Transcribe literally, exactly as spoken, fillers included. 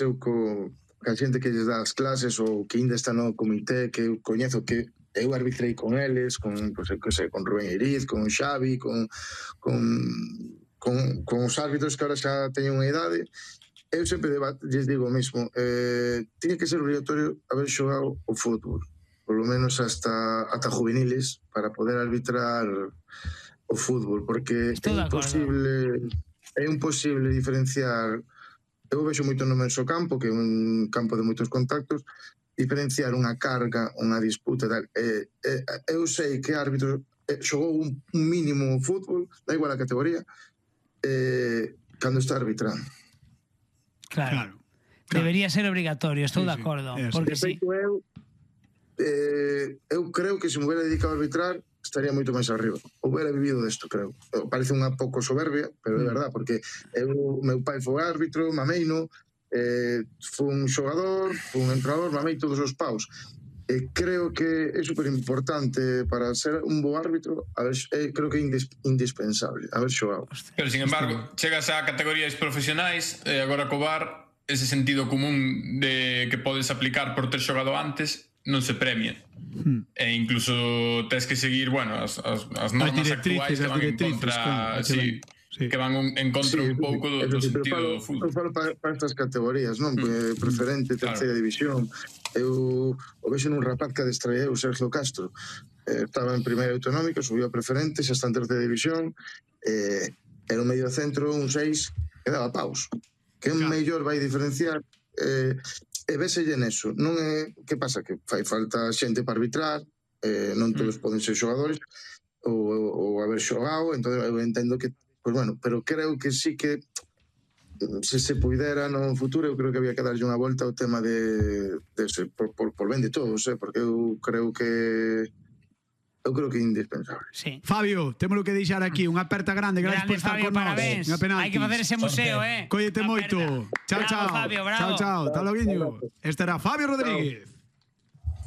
eu co a xente que lles dá as clases ou que ainda está no comité, que eu coñezo, que eu arbitrei con eles, con, pues, que sei, con Rubén Iriz, con Xavi, con, con, con, con os árbitros que ahora xa teñen unha idade. Eu sempre lles digo o mismo, eh, tiña que ser obligatorio haber xogado o fútbol, polo menos hasta ata juveniles, para poder arbitrar o fútbol, porque é imposible é imposible diferenciar. Eu vexo moito no menso campo, que é un campo de moitos contactos, diferenciar unha carga, unha disputa e tal. Eh, eh, eu sei que árbitro eh, xogou un, un mínimo fútbol, da igual a categoría, eh, cando está arbitrando. Claro. claro. Debería ser obligatorio, estou sí, de acordo. Sí. Porque de feito, sí. eu, eh, eu creo que se me hubiera dedicado a arbitrar estaría moito máis arriba. Hubiera vivido desto, creo. Parece unha pouco soberbia, pero é verdad, porque eu, meu pai foi árbitro, mameino, eh, foi un xogador, foi un entrenador, mamei todos os paus. Eh, creo que é super importante para ser un bo árbitro, a ver, eh, creo que é indis, indispensable haber xogado. Pero, sin embargo, chegas a categorías profesionais, e agora co V A R, ese sentido común de que podes aplicar por ter xogado antes non se premia. Hmm. E incluso tens que seguir, bueno, as, as, as normas actuais que van en contra, claro, sí, sí. que van un, en contra sí, un pouco do, do sentido falo, do fútbol. Eu falo para, para estas categorías, non? Hmm. Preferente, terceira claro. división. Eu o vexo nun rapaz que adestraía eu, Sergio Castro. Eh, estaba en primeira autonómica, subiu a preferente, xa está en terceira división, eh, era un medio centro, un seis, que daba paus. Que un claro. mellor vai diferenciar... Eh, e véselle neso, non é, que pasa? Que fai falta xente para arbitrar, eh, non todos mm. poden ser xogadores ou, ou haber xogado, entón eu entendo que, pues bueno, pero creo que sí que se se puidera no futuro, eu creo que había que darlle unha volta ao tema de, de ese, por, por, por ben de todos, eh, porque eu creo que eu creo que é indispensable. Sí. Fabio, temos que deixar aquí unha aperta grande, gracias por estar con nós. Hai que facer ese museo, eh. Cóllete moito. Chao, chao. Fabio, bravo. Chao, chao. Hasta logo. Este era Fabio Rodríguez.